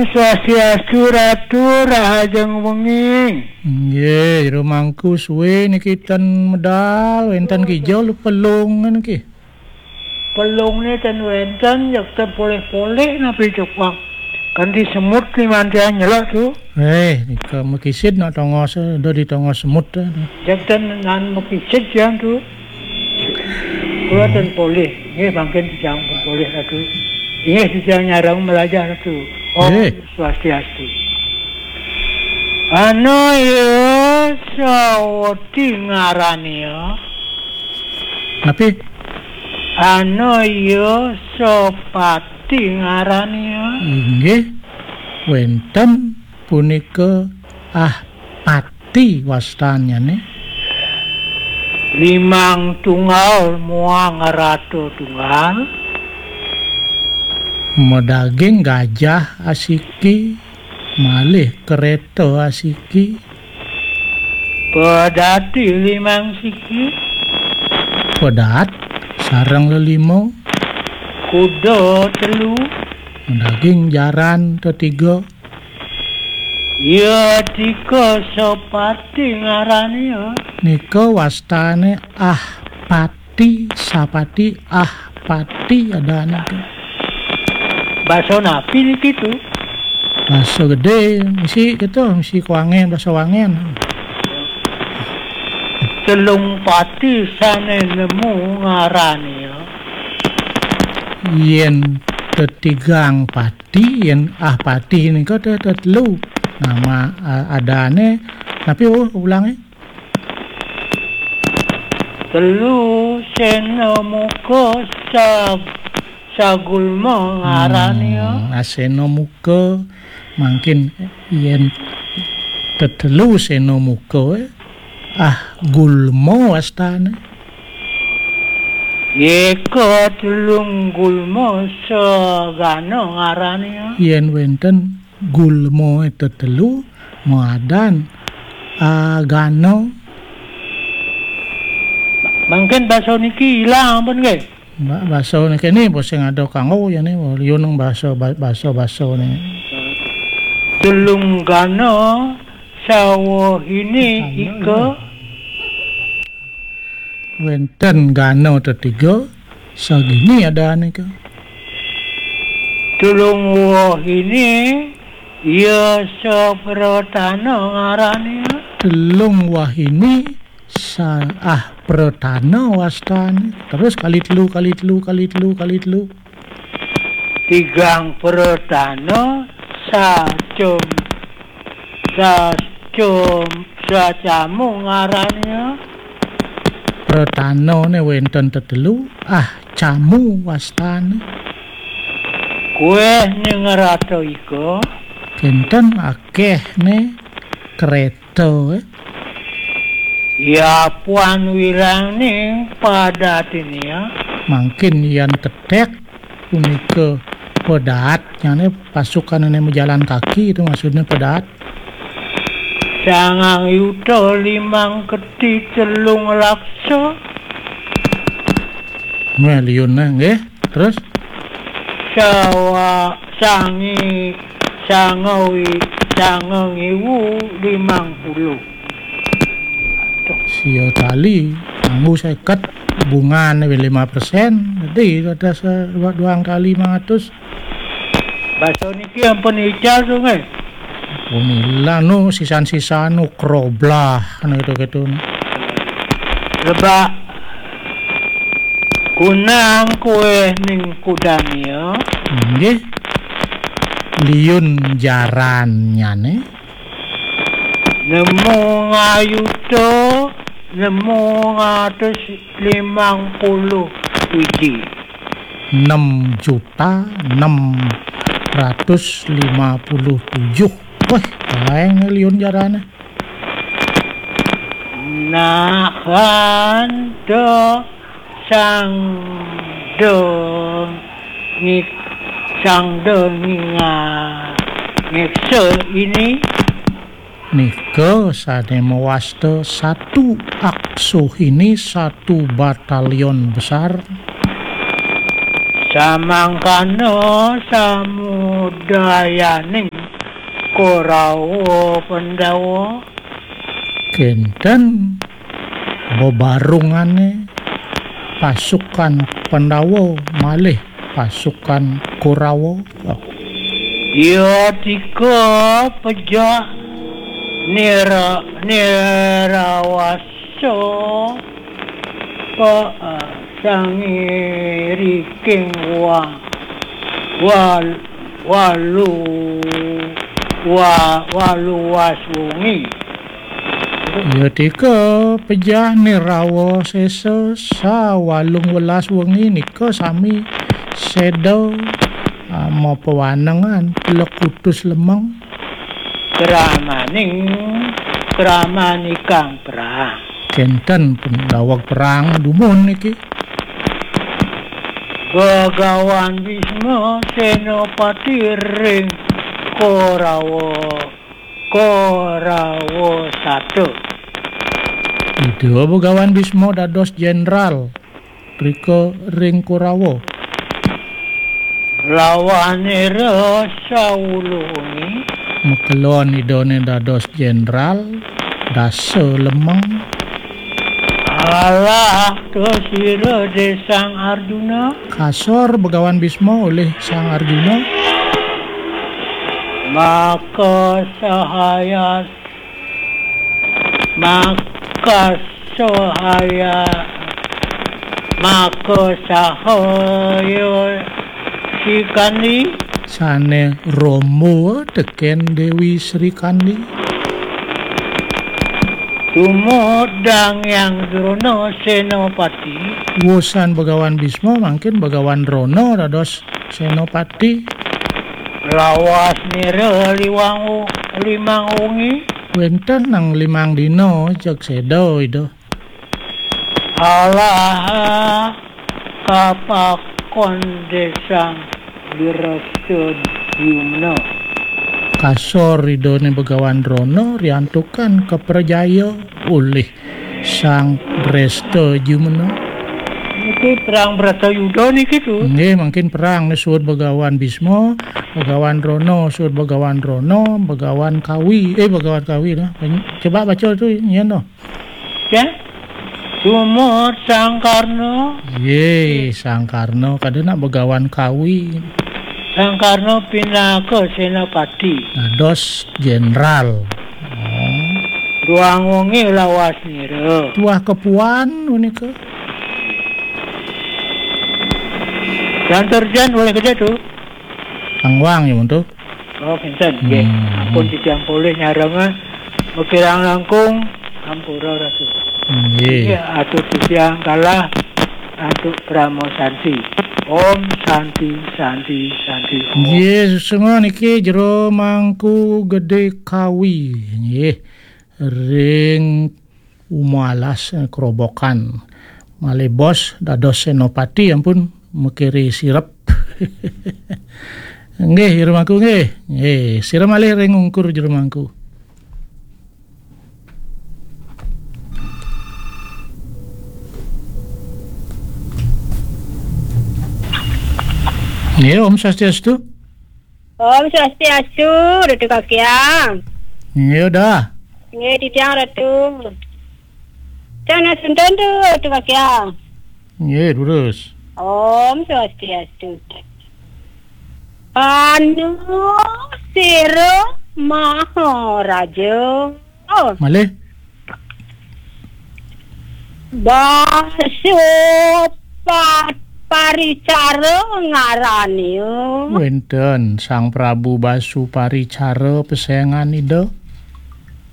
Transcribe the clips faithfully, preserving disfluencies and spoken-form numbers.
Swastiastu, Ratu, rahajeng wengi. Nggih, jero mangku suwe niki ten medal, wenten kija lu pelung niki. Pelungne ten wenten, yak ten polih-polih napi cukang. Kanti semut limantian nyelak tu. Eh, nika mekisid nak tongos, eh, do di tongos semut, eh. Yak ten nan mekisid yang tu. Kula ten polih. Nggih, mangkin titiang pun polih, Ratu. Inggih, titiang nyareng melajah, Ratu. Om Nggih. Swastiastu. Anaya sawati ngarania. Napi? Anaya sapati ngarania. Inggih, wenten punika Ahpati wastannyane. Limang tunggal muang rata tunggal. Madaging gajah asiki, malih kereta asiki. Pedati limang siki. Pedaat sareng lelima. Kuda telu. Madaging jaran tetiga. Ya tika sapati ngarania. Nika wastane Ahpati, sapati, Ahpati adane tu. Basa napi niki tu? Basa gede, mesti gitu, mesti kuangen, basa wangen. Telung pati sane nemu ngarania. Yen tetigang pati, yen Ahpati nika te-, tetelu. Nama, a-, adane, tapi, oh, ulange. Telu sena muka sa-, sagulma ngarania. Hmm, asena muka, mangkin yen tetelu sena muka, eh. Ah, gulma wastane. Yeka telung gulma sagana ngarania. Yen wenten gulma tetelu, madan agana. Mangkin basa niki ilang pun nggih. Ba-, basa niki ni sing ada kanggo ya ni, liun basa, ba-, basa-basa ni. Telung gana sawahini ika. Wenten gana tetiga, sagini adane ka. Telung wahini, ya sapratana ngarane. Telung wahini, sa-, ah, pratana wastane. Terus kali telu, kali telu, kali telu, kali telu. Tigang pratana, sacum, sacum, sacamu ngarane. Pratanane wenten tetelu, ah, camu wastane. Kueh ning rata ika. Kenten akeh ne kereta, eh. Ya puan wirang ning padatinia. Mangkin yan tetek punika pedaatnyane pasukanane majalan kaki itu maksudnya pedaat. Sangang yuta limang keti telung laksa. Meh liun neh, nggih. Terus? Sawa sangi sangawi sangang iwu limang puluh. Sia tali, nganggo seket, bungane lima persen. Jadi ada se-, dua, dua kali lima ratus. Basa niki ampun ical, Sungai. Pun ilang nu sisan-sisan nu kroblah, anu gitu-gitu. Lebak kunang kue ning kudania. Nggih. Liun jarannyane. Nemu ngayuta, nemu ngatus limang puluh wiji. Enam juta enam ratus lima puluh tujuh. Wah, lain liun jarane. Nahan do sang do ngik sang do nginga ngiksa ini. Nika sane mawasta satu aksuhini, satu batalion besar. Samangkana samudayaning Korawa Pandawa. Kenten bebarungane pasukan Pandawa malih pasukan Korawa. Ya tika pejah nira, nirawasa pa, sangiriking wa, wal, walu, wa, waluwas wengi. Ya tika pejah nirawa sesa sa walung welas wengi nika sami seda, ah, mapawanengan plekutus lemeng. Kramaning, kramanikang perang. Kenten pendaweg perang dumun niki. Bagawan Bisma Senapati ring Korawa, Korawa Sata. Ida Begawan Bisma dados jenderal rika ring Korawa. Lawanira sawuluh wengi. Makelon idane dados jenderal, dasa lemeng. Alah, tusira Desang Arjuna. Kasor Begawan Bisma olih Sang Arjuna. Maka sahaya, maka sahaya, maka sahaya Sikandi. Sane rombo teken Dewi Sri Kandi. Tumodang Hyang Drona Senapati. Wusan Begawan Bisma mangkin Begawan Drona dados Senapati. Lawas nira liwang u-, limang wengi. Wenten nang limang dina jeg seda ida. Alah kapakon Desang Dresta Jumna. Kasor idane Begawan Drona riantukan kaprajaya olih Sang Dresta Jumna. Niki perang Bratayuda niki tu. Nggih, mangkin perang ne suud Begawan Bisma, Begawan Drona, suud Begawan Drona, Begawan Kawi, eh, Begawan Kawi dah. Coba baca tu, nyen tu. Ya. Sumur Sang Karna. Ye, Sang Karna. Kada nak Begawan Kawi. Sang Karna pinaka senapati. Dados jenderal. Oh. Ruang wengi lawas nira. Tuah kepuan punika. Yang terjadi oleh kerja tu. Angwang ya, Muntu. Oh, kinten, nggih. Hmm. Ampun titiang polih nyarengin. Makirang langkung, ampura, Ratu. Nggih. Nggih, atur titiang kalah antuk Parama Santi. Om Santi, Santi, Santi, Om. Nggih, sesungguh niki Jero Mangku Gede Kawi. Nggih. Ring Uma alas, eh, Kerobokan. Malih bos dados senopati ampun makiri sirep. Nggih, Jero Mangku nggih. Nggih, sira malih ring ungkur Jero Mangku. Nggih, Om Swastiastu. Om Swastiastu, Ratu Kakiang. Nggih, dah. Nggih, titiang Ratu. Cang nak sunten tu, Ratu Kakiang. Nggih, terus. Om Swastiastu. Anu sira Maharaja. Oh. Malih. Basupa-, Paricara ngarane. Wenten Sang Prabu Basuparicara pesengan Ida.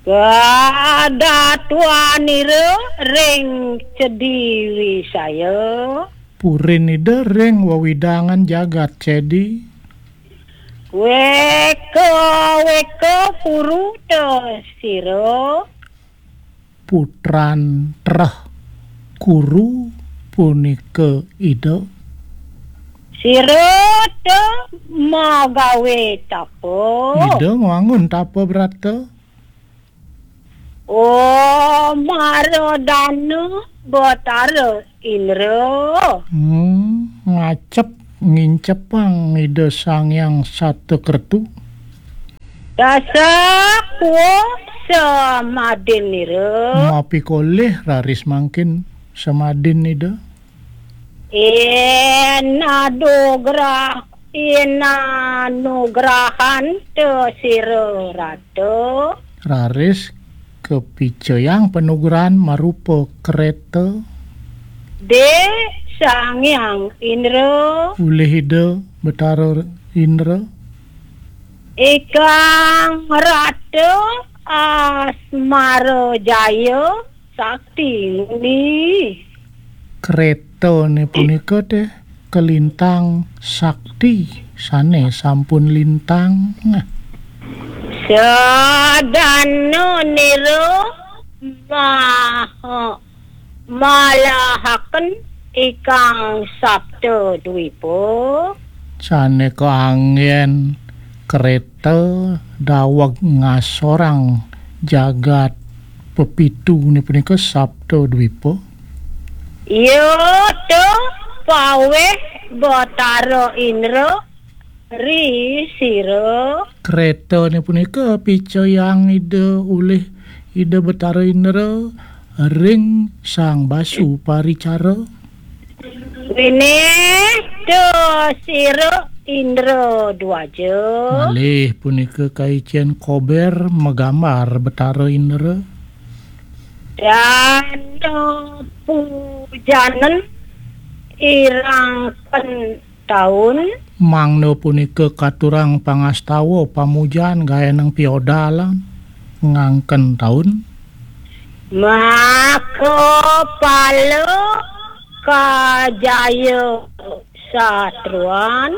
Kadatuanira ring Cedi Wisaya. Purin Ida ring wewidangan jagat Cedi. Weka, weka puruta sira. Putran treh kuru punika Ida. Sira ta magawe tapa. Ida ngwangun tapa brata. Oh, Maradana Batara Indra. Hmm, ngacep ngincepang Ida Sang Hyang Sata Kertu. Dasakwa samadinira. Mapikolih raris mangkin samadin Ida. Inadugrah, inanugrahanta sira rata. Raris kapicayang panugrahan marupa kreta. Dé Sang Hyang Indra. Ulih Ida Betara Indra. Ikang rata asmara jaya sakti nguni. Kretané punika téh kalintang sakti sané sampun lintang. Sadana nira maha malahaken ikang sapta dwipa. Sané kaanggén kreta daweg ngasorang jagat pepituné punika sapta dwipa. Iya ta paweh Batara Indra ri sira. Kretané punika picayang Ida ulih Ida Betara Indra ring Sang Basu Paricara. Winih ta sira Indra Dwaja. Malih punika kaicén kober magambar Betara Indra. Dana pujanen irangken taun. Mangda punika katurang pangastawa pamujan gaénang piodalan ngangken taun. Maka pala kajaya satruan.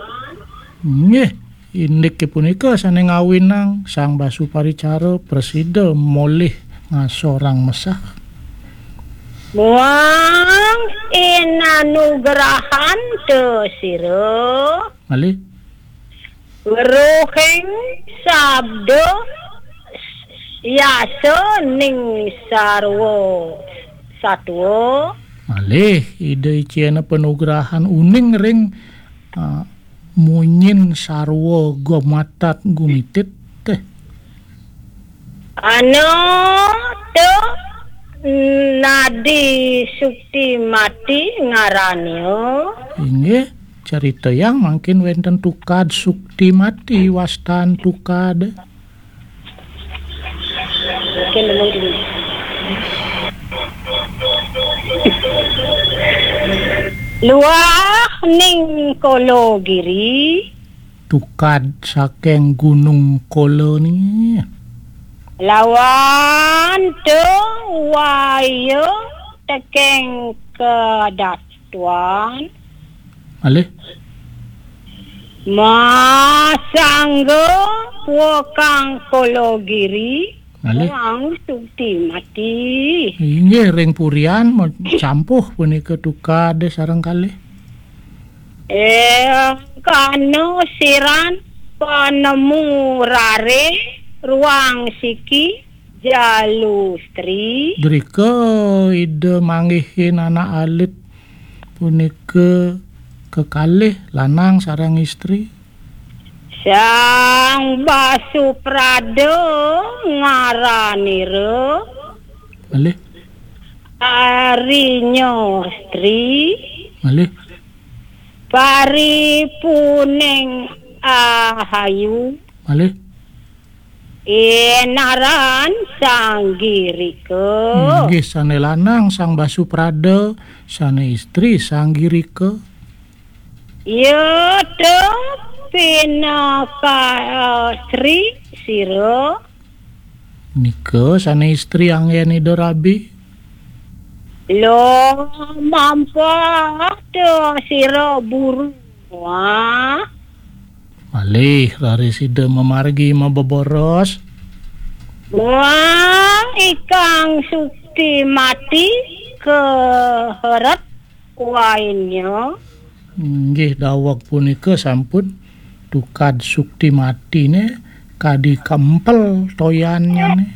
Nggih, indiké punika sané ngawinang Sang Basu Paricara prasida molih ngasorang mesah. Muang inanugrahanta sira. Malih. Weruhing sabda yasa ning sarwa satwa. Malih Ida icéna panugrahan uning ring, ah, munyin sarwa gumatat gumitit téh. Ana ta Nadi Sukti Mati ngarania. Inggih, caritayang mangkin wénten tukad Sukti Mati wastan tukad. Oke, nemen dulu. Luah ning Kala Giri. Tukad saking Gunung Kala ni. Lawan tu waya teking kedatuan. Malih. Masangga wakang Kala Giri. Malih. Wang Sukti Mati. Inggih ring purian ma-, campuh punika tukad sareng kalih. Eh, kana siran panemu rare ruang siki jalustri. Drika Ida manggihin anak alit punika kekalih lanang sareng istri. Sang Basuprada ngaranira. Malih. Arinyastri. Malih. Paripuning ahayu. Malih. Inaran Sang Girika. Inggih, sané lanang Sang Basuprada, sané istri Sang Girika. Ya ta pinaka, eh, sri sira. Nika sané istri anggén Ida Rabi. Lo mampah ta sira buru. Wah. Malih raris Ida mamargi mabeboros. Wah, ikang Sukti Mati keheret. Wainya. Inggih daweg punika sampun tukad Sukti Matiné kadi kempel toyannyané.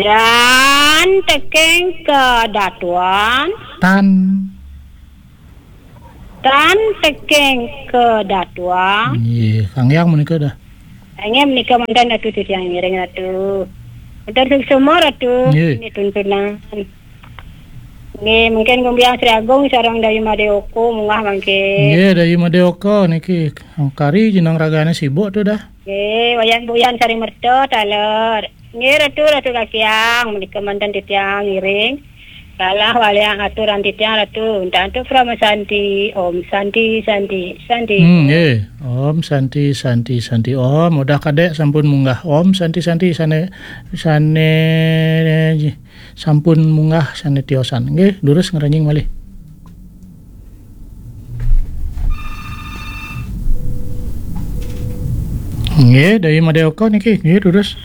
Tan teking kedatuan. Tan. Tan teking kedatuan. Nggih, Sang Hyang menika dah. Inggih menika manten Ratu titiang ngiring Ratu. Manten suksma Ratu, nggih, ini tuntunan. Nggih, mungkin Gumbiang Sri Agung sareng Dayu Made Oko munggah mangkin. Nggih, Dayu Made Oko niki kari jeneng ragane sibuk tu dah. Nggih, Wayan Buyan Sari Merta taler. Nggih, Ratu, Ratu Kakiang, menika manten titiang ngiring. Salah waliang aturan titiang Ratu. Untuk Parama Santi, Om Santi, Santi, Santi. Hmm, nggih. Om Santi, Santi, Santi. Om, udah kadek sampun munggah. Om Santi, Santi, sane, sane, sampun munggah, sane tiosan. Nggih, durus ngranjing malih. Nggih, Dayu Made Oko niki, nggih, durus.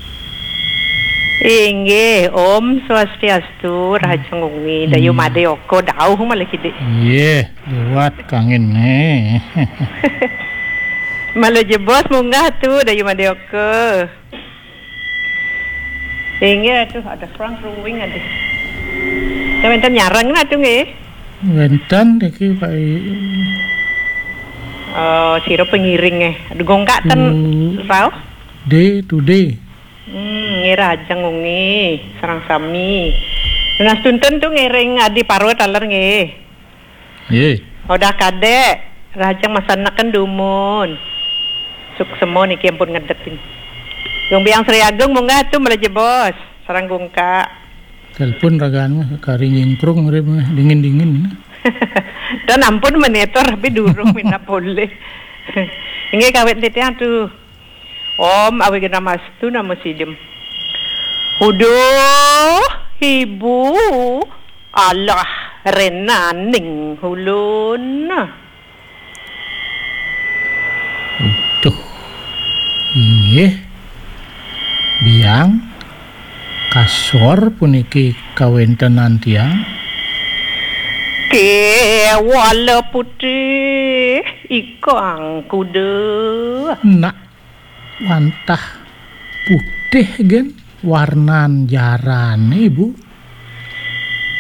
Inggih, Om Swastiastu, Raja Ngungi, Dayu Made Oko, dauh malah kidik. Nggih, liwat kangin, eh. Malah jebos munggah tu, Dayu Made Oko. Inggih, aduh, ada kurang ruwing, aduh. Ya, wenten nyareng lah tu, nggih. Wenten, niki, Pak I-, Oh, sira pengiring, eh. Aduh, gongkak ten rauh. Day to day. Hmm, nggih, Raja Ngungi, sareng sami. Nunas tuntun tu ngiring Adi Parwa taler, nggih. Nggih. Udah kadek, Raja masaneken dumun. Suksema niki ampun ngedekin. Gumbiang Sri Agung munggah tu malah jebos, sareng gongkak. Telepon ragan mah, kari nyingkrung, urip mah, dingin-dingin. Dan ampun menetor, tapi durung minap boleh. Inggih, kawit titiang tu. Om Awighnamastu Namo Sidham. Huduh, ibu, alah renaning ulun. Uduh. Inggih. Biang, kasor puniki kawentenan tiang. Kewala putih ikang kuda. Nak wantah putih gen warnan jarane, Bu.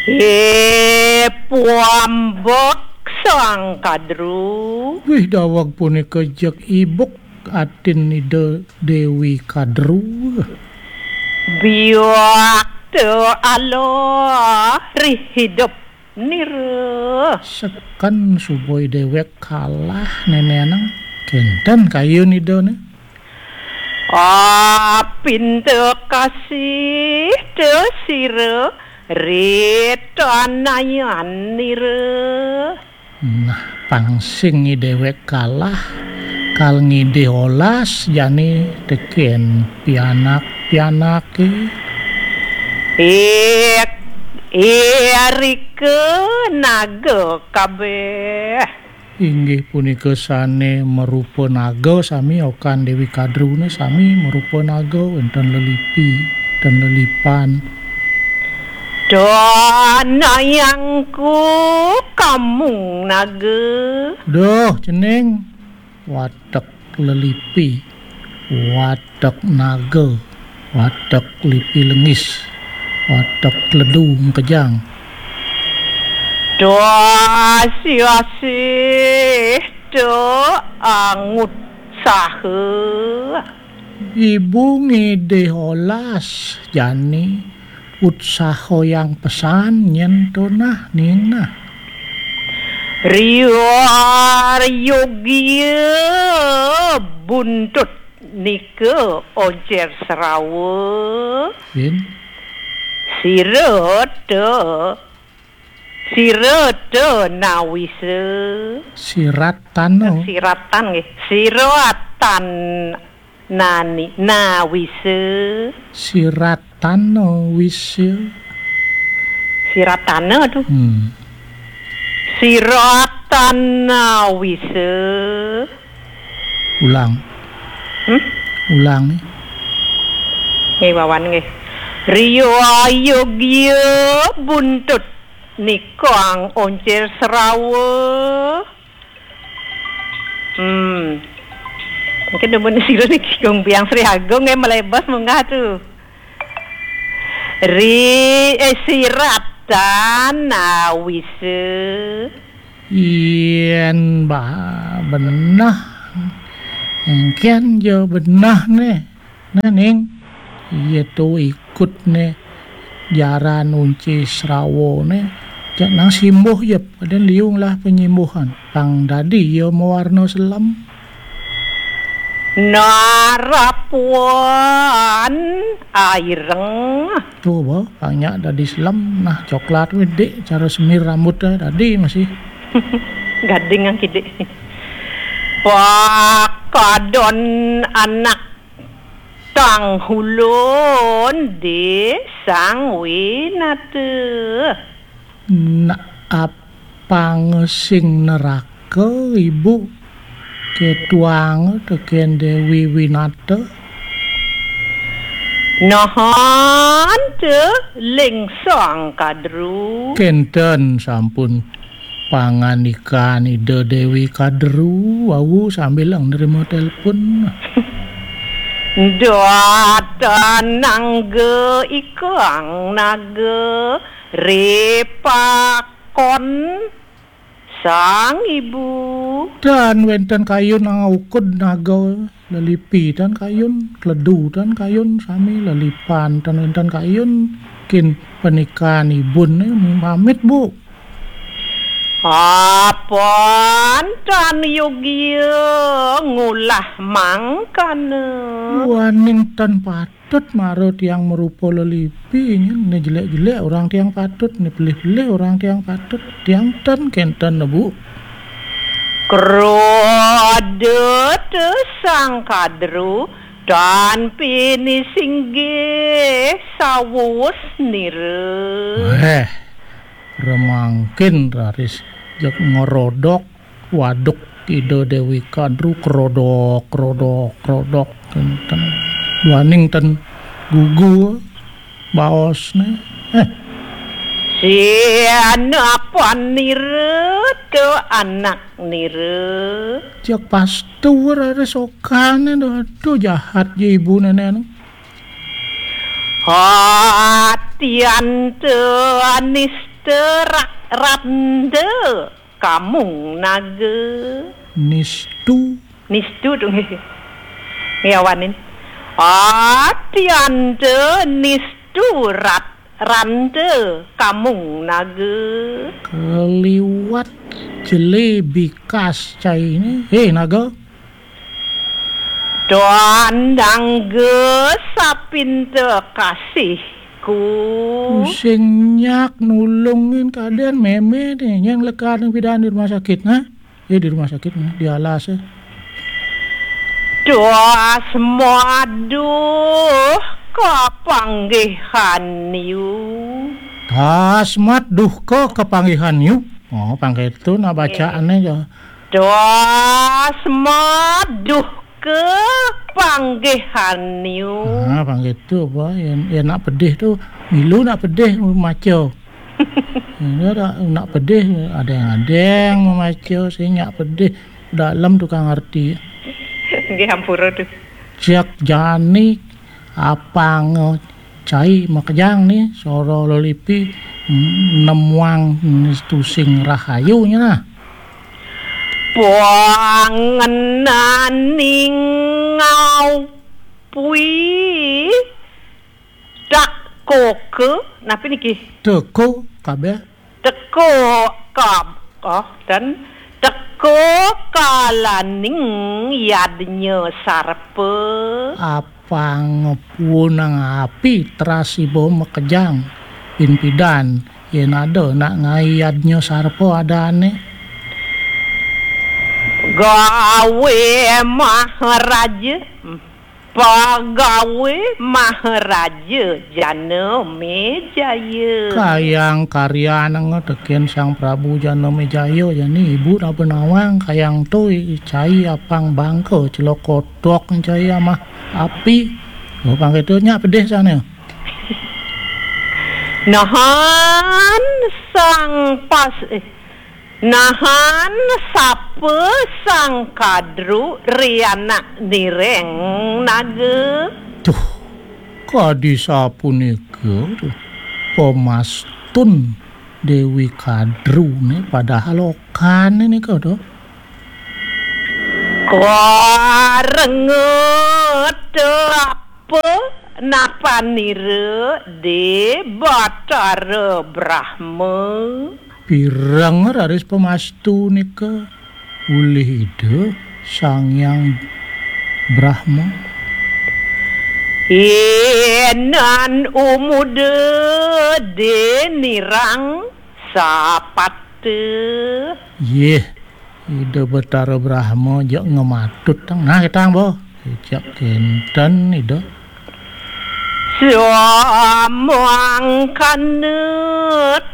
Eh, puambek Sang Kadru. Wih, daweg punika jeg ibuk atin Ida Dewi Kadru. Biak te Allah rih hidup nira. Seken suboi dewek kalah nenenang. Kenten kayun Ida ne. Ah, pinta kasih te sira ritanayan nira. Nah, pang sing dewek kalah, kal ngidih olas jani teken pianak-pianake. Ik, irika naga kabeh. Inggih punika sane marupa naga sami, okan Dewi Kadruna sami marupa naga, wenten lelipi, wenten lelipan. Danayangku kamung naga. Duh, cening. Watek lelipi, watek naga, watek lipi lengis, watek ledu mekejang. Dasi-asih te angut saha. Ibu ngidih olas jani utsaha yang pesan nyen tonah ninah. Riwar yogya buntut nika oncer serawa. Bin. Sira te, sira te nawisa. Siratana. Siratan nggih. Siratan nani, nawisa. Siratana wisa. Siratana tu. Hmm. Siratana wisa. Ulang. Hmm? Ulang ni. Nggih, Wawan nggih. Riwayogya buntut nikang oncer serawa. Hmm. Mungkin demen sira niki Gung Biang Sri Agung nggih melebos munggah tu. Ri, eh, siratan awise. Yen ba-, benah Engken ja benah ne. Nah, ning, iya tu ikut ne jaran unci srawa ne. Jak nang simbuh jep, kadén liu ngelah penyimbuhan. Pang dadi iya mawarna selem. Narapuan aireng. Tu ba, pang nyak dadi selem, nah coklat wé dik, cara semir rambut dah dadi masih. Gading ang kidik. Pakadon anak tang hulun di sang winata. Nak apang sing neraka, Ibu? Ketuang tekén Déwi Winata. Nahan te lingsang kadru. Kénten sampun pangandikan Ida Déwi Kadru wau sambil nerima telepon. Datan nangga ikang naga ripakon sang ibu. Dan wénten kayun angaukud naga lelipi dan kayun, kledu dan kayun, sami lelipan dan wénten kayun. Kin panikan ibun, eh, pamit, Bu. Apan tan yogia ngulah mangkana. Waning tan patut mara tiang marupa lelipi, nyen. Né jelék-jelék orang tiang patut, né pelih-pelih orang tiang patut. Tiang tan kénten, Bu. Krodot sang kadru tan pinisinggih sawus nira. Eh, remangkin raris jeg ngerodok waduk Ida Déwi Kadru, krodok, krodok, krodok, kénten. Duaning ten gugu baosné. Eh. Sianapan nira tu anak nira. Cek pastu raris okané, aduh, jahat ja ibu nénék. Atian te anista ra-, randa kamung naga. Nistu. Nistu tu nggih. Ngiawanin. Atian te nistu rat-, randa kamung naga. Keliwat jelé bikas cainé. Hé, naga. Tuan dangga sapinta kasihku. Sing nyak nulungin kadén mémé né, nyang lekad pidan di rumah sakit, nah. Eh, di rumah sakit, nah, di alas, eh. Duh, asma duh kapanggihan yu. Tasmat duh ka kapanggihan yu. Oh, pang kéto nak bacaané ja. Duh, asma duh kapanggihan yu. Ah, pang kéto apa? Yén, yén nak pedih tu, milu nak pedih maca. Nak, nak pedih, adéng-adéng mamaca, sing nyak pedih, dalem tukang arti. Nggih, ampura tu. Cek jani apang cai makejang né, sora lelipi, mm, nemuang nistu sing rahayu nya nah. Pangenaning ngau pui tak koke, napi niki? Teko kabéh. Teko kab-, oh, dan teko kalaning yadnya sarpa. Apang puunang api teras iba makejang. Pin pidan, yén ada nak ngai yadnya sarpa adané. Gawe Maharaja. Pagawe Maharaja Janamejaya. Kayang karyan nga tekén Sang Prabu Janamejaya, jani ibu napa nawang kayang to i-, cai apang bangka celaka tok cai amah api. Oh, pang kéto nyak pedih sané. Nahan sang pas, eh, Nahan sapa Sang Kadru ri anak nireng naga? Duh, kadi sapunika, duh. Pamastun Déwi Kadru né padahal okané nika, duh. Parenget apa napanira de Batara Brahma? Pireng raris pamastu nika ulih Ida Sang Hyang Brahma. Inan umuda de nirang sapata. Yeh, Ida Betara Brahma jak ngematut tang. Nah, ketang boh. Jak kenten Ida. Samangkana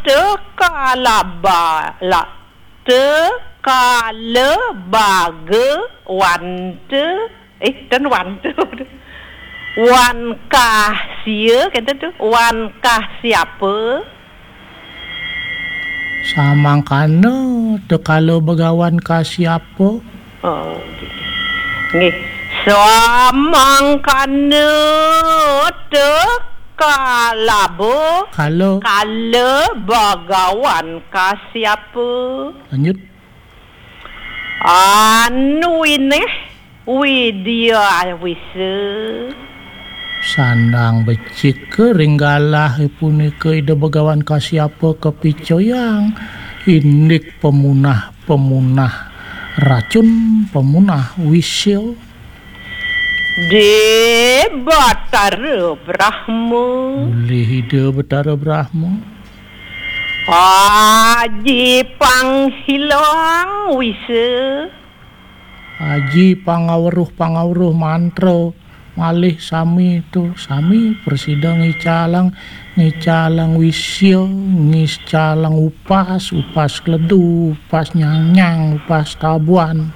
tekalaba la tekalabagawanta. Eh, dan wanta. Wan Kahsia, kenten tu. Wan Kahsiapa. Samangkana tekala begawan Kasiapa. Oh, nggih. Samangkana tekalaba kala kala bagawan Kasiapa. Lanjut. Anu ineh Widya Wisa. Sandang becik ring galah punika Ida Begawan Kasiapa kapicoyang indik pemunah-pemunah racun, pemunah wisa. De Batara Brahma. Ulih Ida Betara Brahma. Aji panghilang wisa. Aji pangaweruh-pangaweruh mantra malih sami tu, sami prasida ngicalang, ngicalang wisa, ngicalang upas, upas kledu, upas nyangnyang, upas tabuan.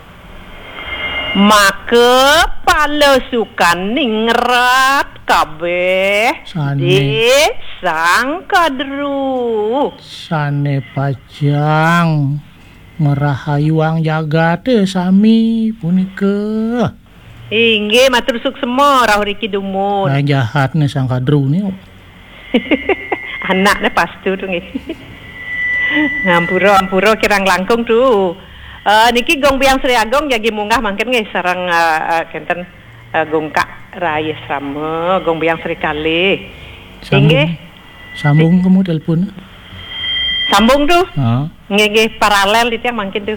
Maka palasukan ningrat kabeh. Sane. Di Sang Kadru. Sane pacang ngrahayuang jagate sami punika. Inggih, matur suksma, rauh riki dumun. Nah, jahatne Sang Kadru ni. Anakne pastu tu nggih. Ngampura, ampura kirang langkung tu. Eh, niki Gong Biang Sri Agung jagi munggah mangkin nggih sareng, eh, eh, kenten, eh, Gong Kak Rai Asrama, Gong Biang Sri Kalih. Sambung. Inggih. Sambung kemu telepon. Sambung tu. Ha. Nggih, nggih, paralel titiang mangkin tu.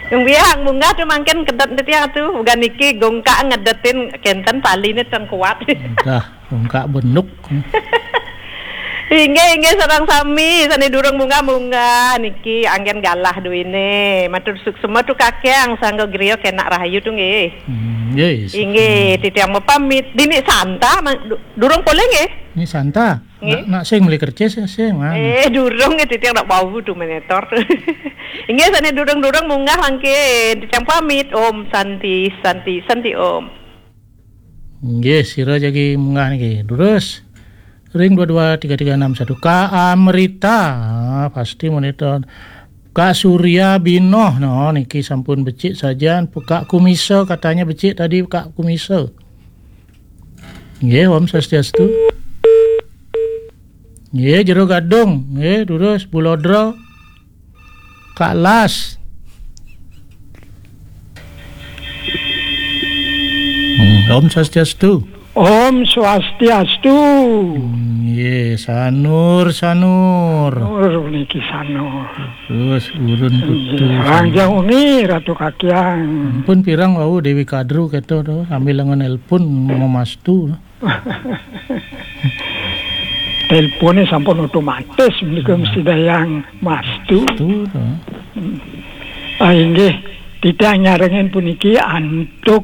Gong Biang munggah tu mangkin kedet titiang tu. Bukan niki Gong Kak ngedetin kenten taline teng kuat. Dah, Gong Kak benuk. Inggih, inggih, sareng sami sane durung munggah-munggah niki anggen galah duine. Matur suksma tu Kakang, sangga griya kenak rahayu tu nggih. Hmm, nggih. Inggih, titiang mapamit. Dini Santa, ma-, du-, durung polih nggih? Ni Santa. Nggih. Nak, nak sing meli kercis, sing, ah. Eh, durung nggih, titiang nak bau tu menetor tu. Inggih, sane durung-durung munggah mangkin. Titiang pamit. Om Santi, Santi, Santi Om. Nggih, sira jagi munggah niki. Terus ring dua dua tiga tiga enam satu. Kak Amrita, ah, pasti monitor. Kak Surya Binoh, no, niki sampun becik sajan. Kak Kumisa katanya becik tadi, Kak Kumisa. Nggih, Om Swastiastu. Nggih, Jero Gadung. Nggih, terus Bulodra. Kak Las. Hmm, Om Swastiastu. Om Swastiastu. Hmm, nggih, Sanur, Sanur. Nur niki Sanur. Terus urun putu. Nggih, Sanur. Rangjang Uni, Ratu Kakiang. Ampun pirang wau Dewi Kadru keto to, sambil lenga nelpon memastu. Telepone sampun otomatis menika mesti dayang mastu. Mastu to. Hmm. Ah, inggih, titiang nyarengin puniki antuk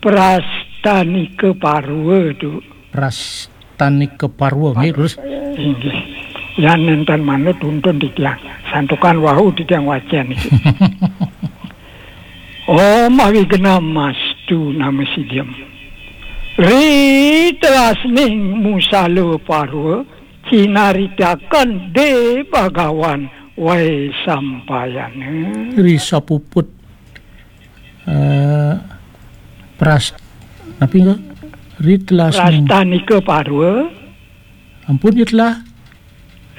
Prastanika Parwa tu. Prastanika Parwa, nggih, terus? Inggih. Yan nenten manut tuntun titiang. Santukan wau titiang wacen niki. Om Awighnam Astu Namo Sidham. Ri telasning Musala Parwa cinaritaken De Bhagawan Waisampayana. Ri sapuput, eh, pras-, napi enggak? Ri telasning. Prastanika Parwa. Ampun, ya telah.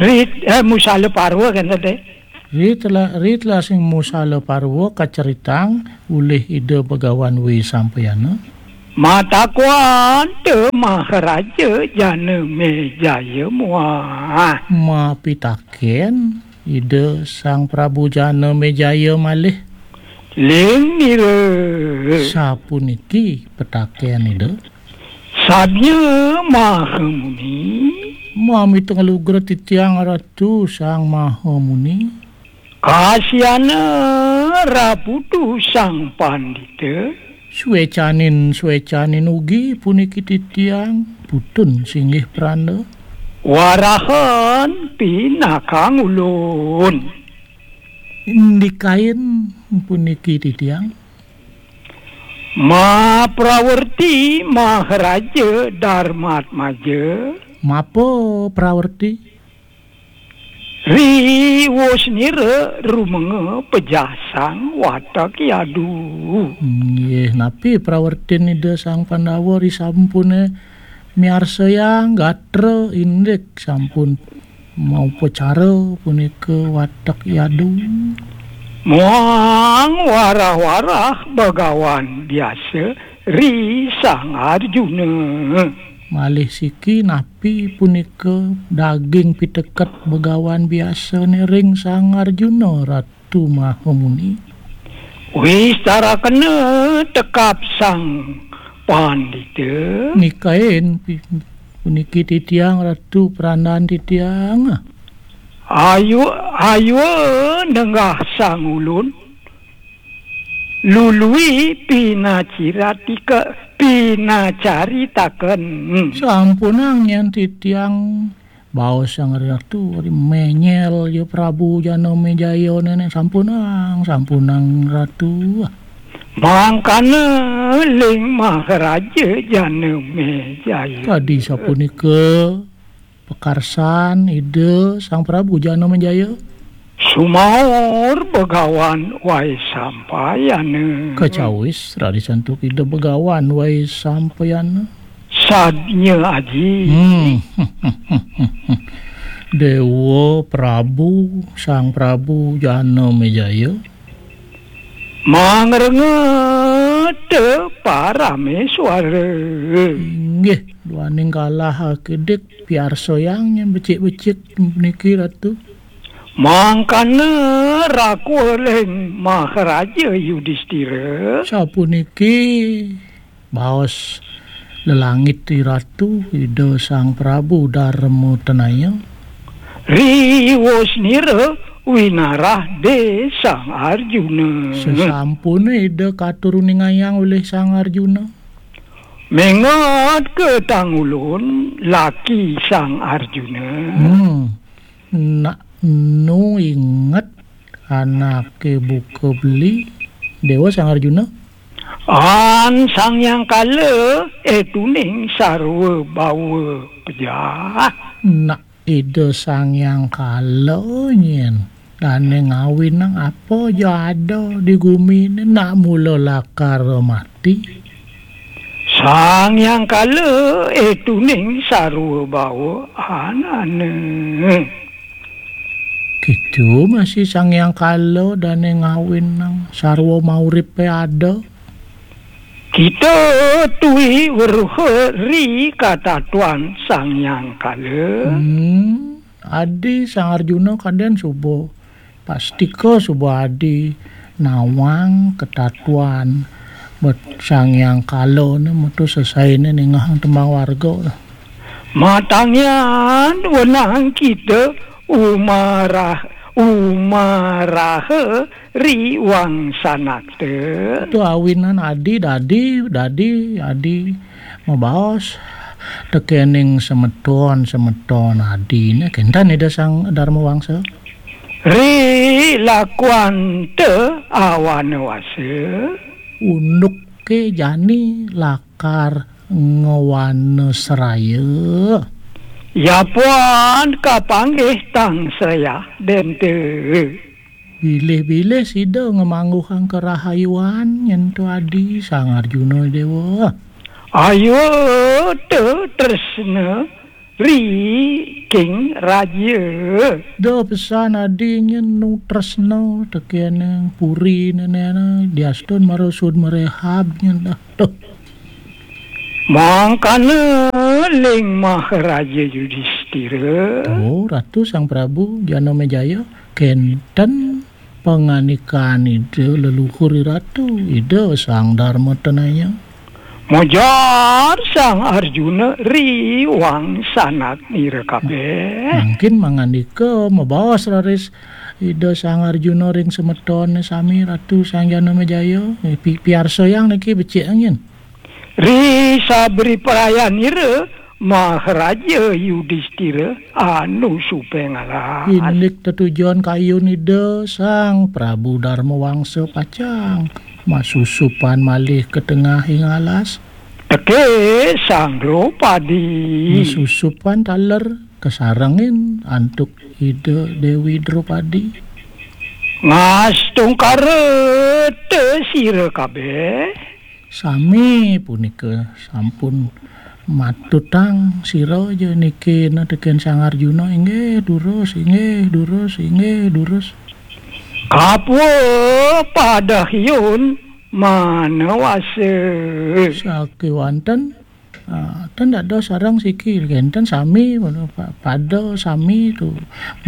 Ri, eh, Musala Parwa kan tadi. Ri tela-, ri telasing musala parwa kaceritang ulih Ida Begawan Wisampayana. Matakuan te Maharaja Jana Mejaya muah. Mapitaken Ida Sang Prabu Jana Mejaya malih. Ling nira. Sapuniki petaken Ida. Sadnya Mahamuni. Mamita nglugra titiang Ratu Sang Mahamuni. Kasiana raputu Sang Pandita. Suecanin, suecanin ugi puniki titiang, putun singgih pranda. Warahan pinakang ulun. Indikain puniki titiang. Maprawerti Maharaja Darmatmaja. Mapa prawerti? Riwusnira rumenga pejasang watak yadu. Nggih, napi prawertin Ida Sang Pandawa risampune miarsayang gatra indik sampun maupacara punika watak yadu? Muang warah-warah Begawan biasa ri Sang Arjuna. Malih siki napi punika daging piteket Begawan biasane ring Sang Arjuna, Ratu Mahamuni? Wistarakena tekap Sang Pandita. Nikain pi-, puniki titiang, Ratu, prandan titiang. Ayu, ayu nenggah sang ulun. Lului pinaciratika, pinacaritaken. Sampunang yen titiang baos Sang Ratu, ari menyel ya Prabu Jana Mejaya nene, sampunang, sampunang Ratu. Mangkana ling Maharaja Jana Mejaya. Kadi sapunika pakarsan Ida Sang Prabu Jana Mejaya. Sumaur Begawan Waisampayana. Kacawis raris antuk Ida Begawan Waisampayana. Sadnya Aji. Hmm. Dewa Prabu, Sang Prabu Jana Mejaya. Mangrengeta Parameswara. Inggih, duaning kalah akedik piarsayang yen becik-becik niki, Ratu. Mangkana rakuling Maharaja Yudistira. Sapuniki baos lelangit Ratu Ida Sang Prabu Darma Tenaya. Riwusnira winarah de Sang Arjuna. Sesampune Ida katuruningayang oleh Sang Arjuna. Mengot ke tangulun laki Sang Arjuna. Hmm. Nak nu inget anake buka beli Dewa Sang Arjuna. An Sang Yang Kala, eh, tuning sarwa bawa pejah. Nak Ida Sang Yang Kala nyen dane ngawinang apa ja ada di gumi ni, nak mula lakar mati. Sang Yang Kala, eh, tuning sarwa bawa anane. Gitu masih Sang Yang Kala dane ngawinang sarwa mauripe ada. Kita tui weruh ri katatuan Sang Yang Kala. Hmm, adi Sang Arjuna kaden suba. Pastika suba adi nawang katatuan bet Sang Yang Kala ne metu sesaine ningehang tembang warga. Matangian wenang kita umarah, umaraha riwang sanakta. Tu awinan adi dadi, dadi, adi mabaos tekening semeton, semeton adine. Kenten Ida Sang Dharma Wangsa. Ri lakuan te awana wasa. Unduke jani lakar ngewana seraya. Yapuan kapanggih tang serayah dente. Bilih-bilih sida ngemangguhang kerahayuan nyentu adi Sang Arjuna Dewa. Ayu te tresna ri King Raja. Da pesan adi nyen nu tresna tekene puri nene diastun marusud merehab nyen dah. Duh. Mangkana ling Maharaja Yudistira. Oh, Ratu Sang Prabu Janamejaya, kenten pangandikan Ida leluhur Ratu, Ida Sang Darma Tenaya. Mojar Sang Arjuna riwang sanak nira kabeh. Mangkin mangandika mabaos raris Ida Sang Arjuna ring semetone sami Ratu Sang Janamejaya. Eh, pi-, piarsayang niki becik angin. Ri sabri prayanira Maharaja Yudistira anu supeng alas. Indik tetujon kayun Ida Sang Prabu Darma Wangsa pacang masusupan malih ka tengahing alas. Teke Sang Dropadi. Masusupan taler kasarengin antuk Ida Dewi Dropadi. Ngastungkara te sira kabeh. Sami punika sampun matutang sira ja niki na teken Sang Arjuna, inggih durus, inggih durus, inggih durus. Kapwa padahyun manawasa. Sakewanten, ah, ten dados sareng siki kenten sami pa-, pada sami tu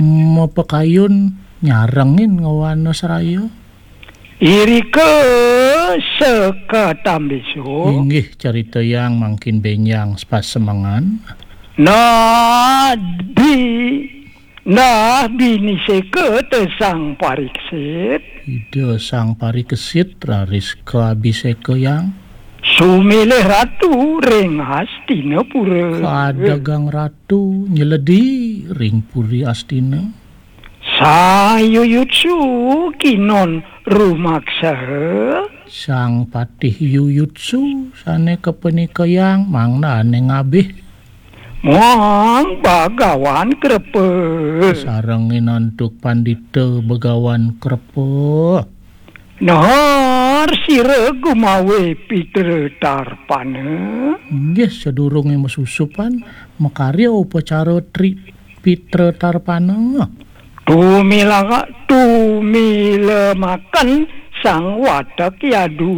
mapakayun nyarengin ngawana seraya. Irika sekatambisu. Inggih, caritayang mangkin benjang sepasemengan. Nah, bi-, nah, biniseka te Sang Parikesit. Ida Sang Parikesit raris kabisekayang. Sumilih ratu ring Hastinapura. Kadagang ratu nyeledi ring Puri Astina. Sayuyutsu kinon rumaksaha. Sang Patih Yuyutsu sane kapanikayang mangdane ngabih. Muang Bagawan Krepa. Sarengin antuk Pandita Bagawan Krepa. Nahar sira gumawe Pitra Tarpana. Inggih, sadurunge masusupan, makarya upacara tri-, Pitra Tarpana. Tumilaka-, tumilemaken Sang Watek Yadu.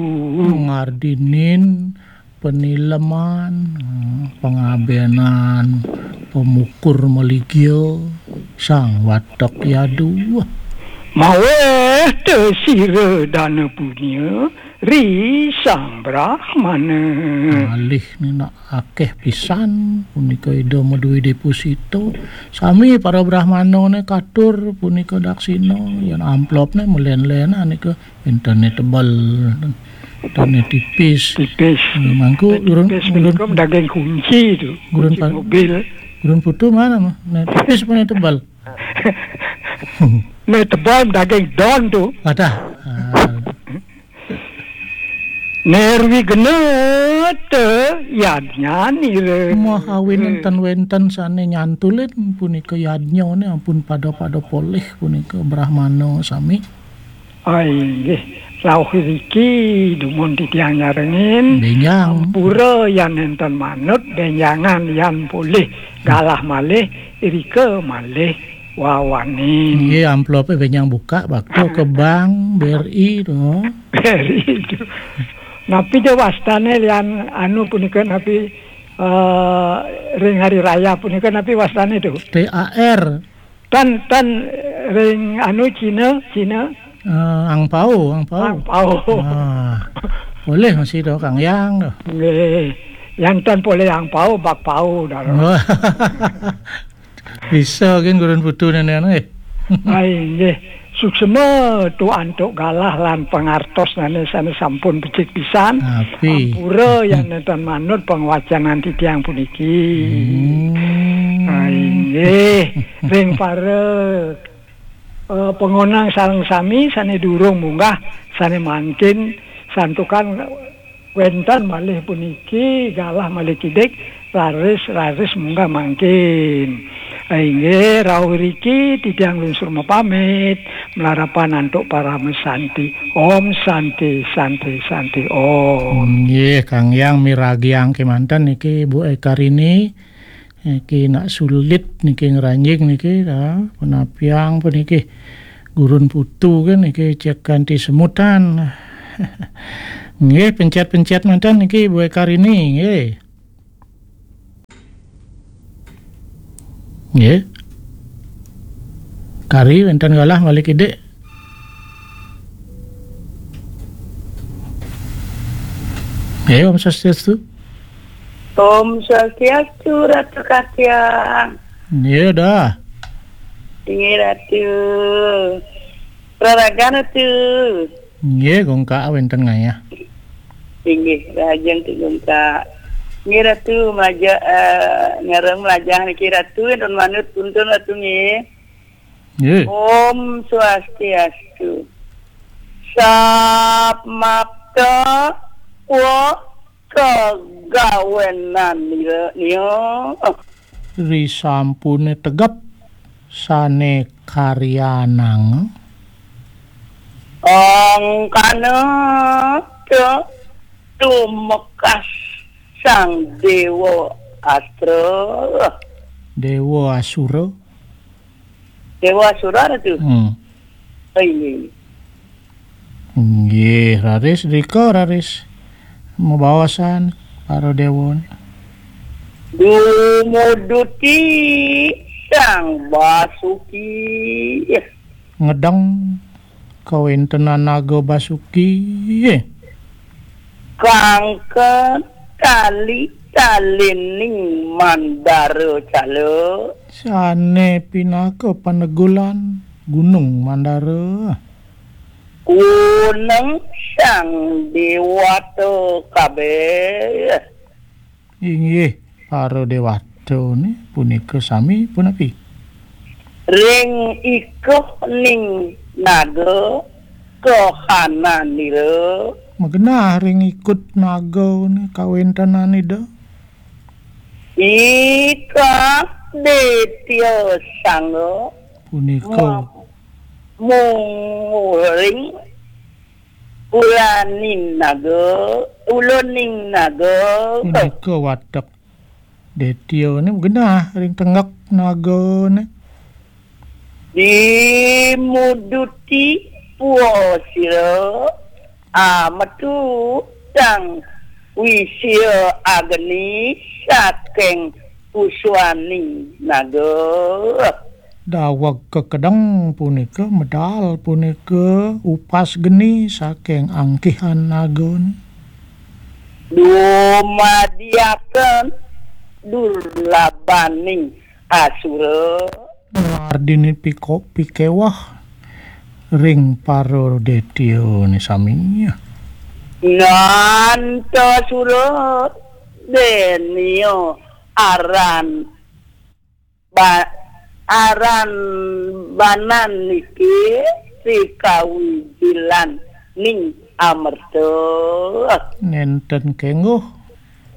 Ngardinin penileman, eh, pangabenan, pemukur maligya, Sang Watek Yadu. Maweh te sira dana punya ri Sang Brahmana. Malih nina akeh pisan punika Ida maduwe deposito. Sami para brahmanane katur punika daksina, yen amplopne melen-lenan nika. Intene tebel, intene tipis. Tipis. Hmm, mangku Intene urun, tipis urun, punika daging kunci tu. Urun Kunci pa-, mobil. Urun putu mana mah? Nah, tipis mana tebel? Nah, tebal daging don tu. Wadah. Ah. Nirwigna te yadnyanira. Mahawin enten-wenten sane nyantulin punika yadnyane ampun pada-pada polih punika brahmana sami. Ah, inggih. Rauh riki dumun titiang nyarengin. Benjang. Ampura yan enten manut, benjangan yan polih. Galah malih, irika malih wawanin. Nggih, amplope benjang buka, bakta ke bank, B R I to. B R I to. Napi ja wastane lian anu punika napi, eh, ring hari raya punika napi wastane tu? T A R. Tan, tan, ring anu Cina, Cina. Eh, angpau, angpau. Angpau. Ah. Boleh masih tu, Kang Yang tu. Nggih. Yang tan boleh angpau, bakpau dah. Wah. Bisa kan gurun putu nenek anu, eh. Ai, nggih. Suksema tu antuk galah lan pangartos nane sane sampun becik pisan. Api. Ampura yang nenten manut pangwacanan titiang puniki. Hmm. Ai, nggih. Ring para, eh, pangonang sareng sami sane durung munggah, sane mangkin santukan wenten malih puniki, galah malih kidik, raris, raris munggah mangkin. Inggih, rauh riki titiang lungsur mapamit, malarapan antuk parama santi. Om Santi, Santi, Santi, Om. Nggih, Kang Yang miragiang kemanten niki Bu Ekarini. Niki nak sulit niki ngranjing niki, ah, punapiang puniki. Gurun putu kan niki cek kanti semutan. Nggih, pencet-pencet manten niki Bu Karini, nggih. Nggih. Kari wenten galah malih kidik. Nggih, Om Swastiastu. Om Swastiastu, Ratu Katiang. Nggih, dah. Inggih, Ratu. Raragan, Ratu. Nggih, gongkak wenten ngayah. Inggih, rahajeng Tu gongkak. Nggih, Ratu, maja, eh, ngareng melajah niki, Ratu, nuwun manut puntun, Ratu, nggih. Nggih. Om Swastiastu. Samapta wa kagawenan nira, nia. Risampune tegep sane karyanang. Angkana ca tumekas Sang Dewa Astra. Dewa Asura. Dewa Asura, Ratu? Hmm. Oh, inggih. Inggih, raris, rika, raris. Mabaosan para dewa. Dumuduti Sang Basuki. Ngedeng kawentenan Naga Basuki. Kangka tali talining Mandara Cala. Sane pinaka panegulan Gunung Mandara. Kuneng Sang Dewata kabeh. Inggih, para dewata ni punika sami punapi? Ring ikuhning naga kahananira. Magenah ring ikut naga ni kawentenan Ida. Ika Detya Sangga. Punika. Mu-, munguring ulaning naga, uluning naga. Punika watek Detya ni genah ring tengek naga ni. Dimuduti puwa sira ametu tang wisia agni saking puswaning naga. Daweg kekedeng punika, medal punika upas geni saking angkihan naga ni. Dumadiaken durlabaning asura. Ardini piko-, pikewah ring para detya ni sami. Nantasura denia aran ba-, aran banan niki sikawijilan ning amerta. Nenten kengguh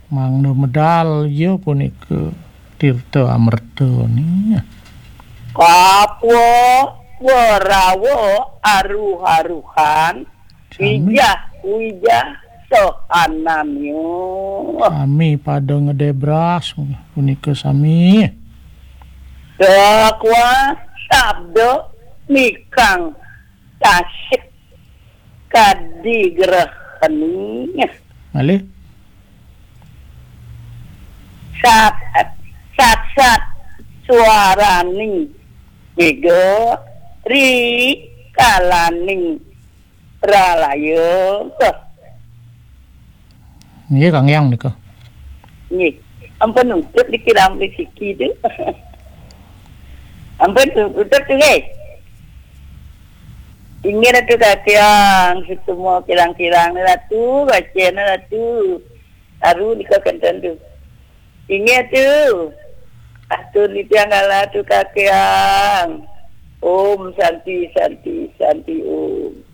mangda medal ya punika tirta amerta ni. Kapwa warawa aruh-aruhan. Sami. Wijah, wijah, sohananyo. Sami pada ngedebras, punika sami. Dakwa sabda mikang tasik kadi grehani. Malih. Sat, sat, sat suaraning mega ri kalaning Pralaya. Nggih, Kang Hyang nika. Nggih. Ampun nutup dikira ampun siki tu. Ampun tu-, tutup tu, nggih. Inggih Ratu Katiang, setumo kirang-kirang Ratu, bacana Ratu. Aru nika kenten tu. Inggih tu. Atur titiang galah tu Katiang. Om Santi, Santi, Santi Om.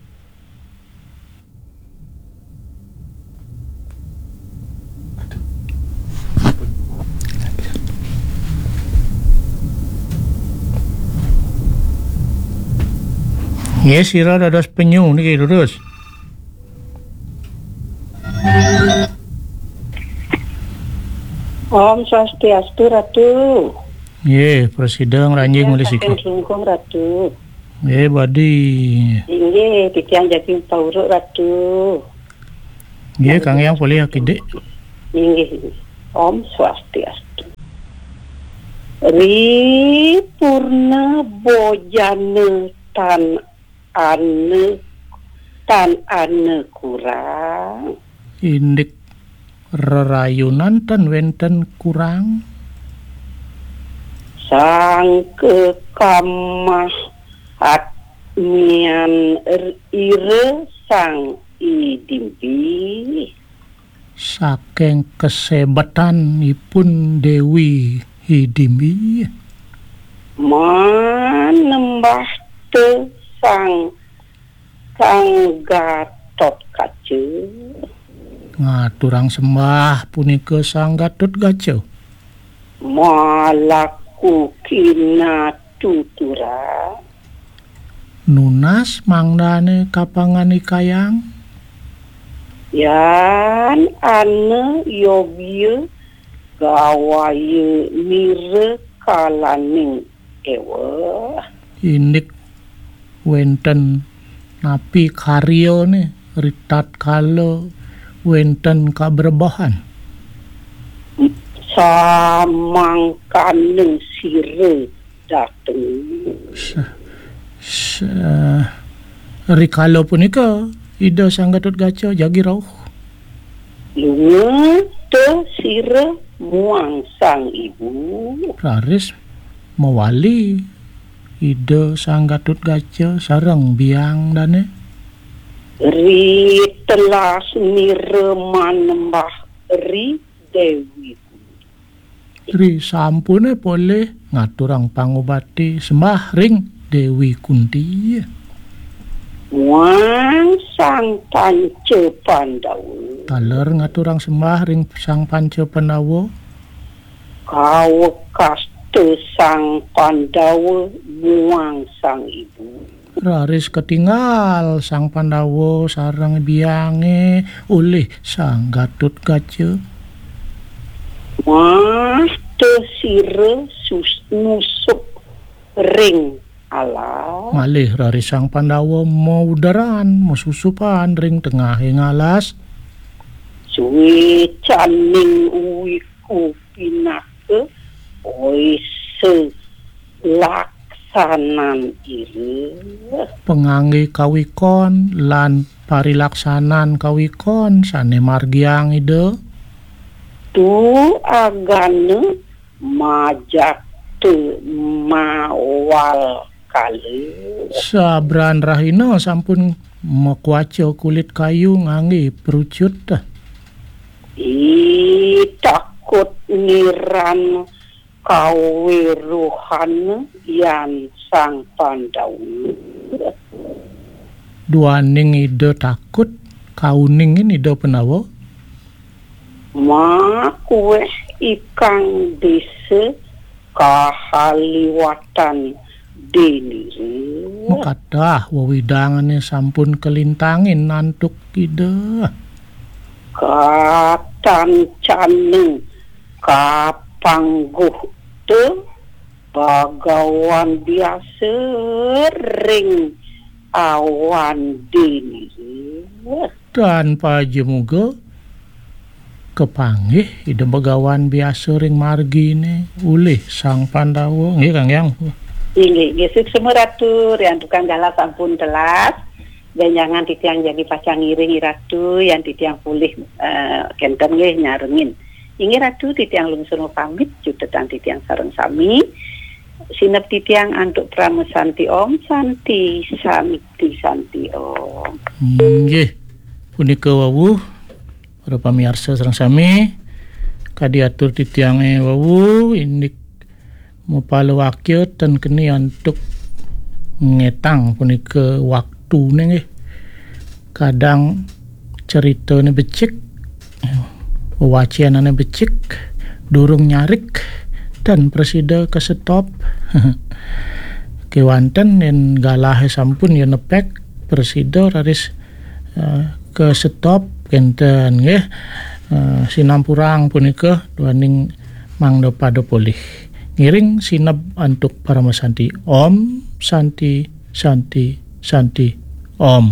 Nggih, sira dados penyu niki, lurus. Om Swastiastu, Ratu. Nggih, prasida ngranjing malih saking siki. Klungkung, Ratu. Nggih, badi. Inggih, titiang jagi pauruk, Ratu. Nggih, Kang Hyang polih akidik. Inggih, inggih. Om Swastiastu. Ri purna bojana tan ane, tan ane kurang. Indik rerayunan tan wenten kurang. Sangka kamah atmian ira Sang Idimbi. Saking kasebetan ipun Dewi Idimbi. Manembah te Sang, Sang Gatot Kaca. Ngaturang sembah punika Sang Gatot Kaca. Malaku kinatuturan. Nunas mangdane kapanganikayang. Yan ana yobya gawaya nira kalaning ewa. Indik wenten napi karyane ritatkala wenten kabrebahan. Samangkana sira dateng. Sa-, sa-, rikala punika Ida Sang Gatot Kaca jagi rauh. Lunga te sira muang Sang Ibu. Raris mawali Ida Sang Gatot Kaca sareng biang dane. Ri telas nira manembah ri Dewi Kunti. Ri sampune polih ngaturang pangubati sembah ring Dewi Kunti. Muang Sang Panca Pandawa. Taler ngaturang sembah ring Sang Panca Pandawa. Kawekasta Sang Pandawa muang Sang Ibu. Raris katingal Sang Pandawa sareng biange ulih Sang Gatot Kaca. Mah te sira sus-, nusup ring alas. Malih raris Sang Pandawa mauderan, masusupan ring tengahing alas. Suecaning wiku pinaka oisa laksanan ira. Pangangge kawikon lan parilaksanan kawikon sane margiang Ida. Tu agana majata mawal kala. Sabran rahina sampun makwaca kulit kayu ngangge perucut. I takut niran kawiruhan yan Sang Pandawa. Duaning Ida takut, kauningin Ida Pandawa. Makuweh ikang desa kahaliwatan denira. Makadah wewidangane sampun kalintangin antuk Ida. Katancaning kapangguh te bagawan biasa ring awan denira. Tan pajemuga kapanggih Ida Bagawan biasa ring margine ulih Sang Pandawa. Nggih, Kang Hyang. Inggih, nggih, suksma Ratu, riantukan galah sampun telas. Benjangan titiang jagi pacang ngiring Ratu, yan titiang polih, eh, kenten nggih nyarengin. Inggih Ratu, titiang lungsur mapamit, cutetang titiang sareng sami. Sineb titiang antuk parama santi Om, santi, santi, santi Om. Inggih. Punika wau, para pamiarsa sareng sami, kadi atur titiange wau, indik mapalawakya ten keni antuk ngetang punika waktune nggih. Kadang critane becik, wewacenane becik, durung nyarik, tan prasida kasetop. Kewanten yen galahe sampun ya nepek, prasida raris, eh, kasetop kenten nggih. Eh, sinampurang punika duaning Mangda pada polih. Ngiring sineb antuk Parama Santi. Om Santi, Santi, Santi, Om.